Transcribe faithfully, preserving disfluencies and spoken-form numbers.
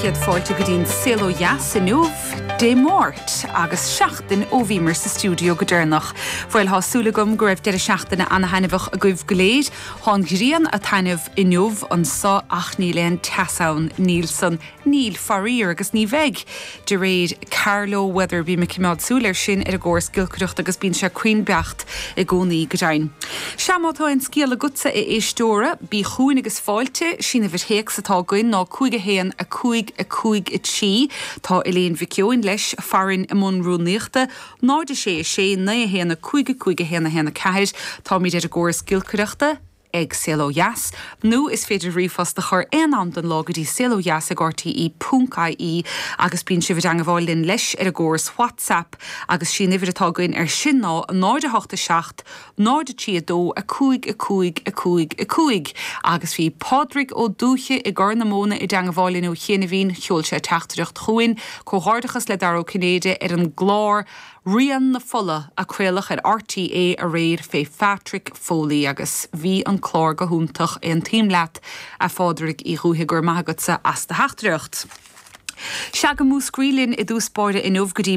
céad fáilte go dtí'n Saol Ó Dheas inniu Dé Máirt agus seachtain ó bhíomar sa stiúideo go deireanach. Bhuel tá súil agam go raibh deireadh seachtaine an-taitneamhach agaibh go léir, Tá an ghrian ag taitneamh inniu anseo ach níl aon teas ann níl san níl faraor agus ní bheidh. De réir Carlow Weather bím ag coimeád súil air sin ar an gcóras giolcaireachta agus bíonn sé cruinn beacht i gcónaí go deimhin. Sea má tá aon scéal agatsa a éisteora, bí chugainn agus fáilte sí an uimhir théacs atá againn ná cúig a haon a cúig a cúig a trí tá Elaine Mhic Eoin leis farainn i mbun rúnaíochta, náid a sé a sé naoi a haon a cúig a cúig a haon a haon a ceathair, Táimid ar an gcóras giolcaireachta ag Saol Ó Dheas, nó is féidir ríomhphost a chur aon am den lá go dtí saolodheas ag RTE ponc IE agus bíonn sibh i dteagmháil linn leis ar an gcóras WhatsApp agus sí an uimhir atá againn ar sin ná náid a hocht a seacht, náid a trí a dó a cúig a cúig a cúig a cúig agus bhí Pádraig Ó Dúiche i gCorr na Móna i dteagmháil linn ó chianaibhín sheol sé teachtaireacht chugainn, comhghairdeachas le Dara Ó Cinnéide ar an gclár Rian na Fola a craoladh ar RTÉ aréir fé Patrick Foley agus bhí an clár go hiontach aontaím leat a Phádraig Uí Dhúiche go raibh maith agatsa as do theachtaireacht. Sea go Múscraí linn i dtús báire inniu go dtí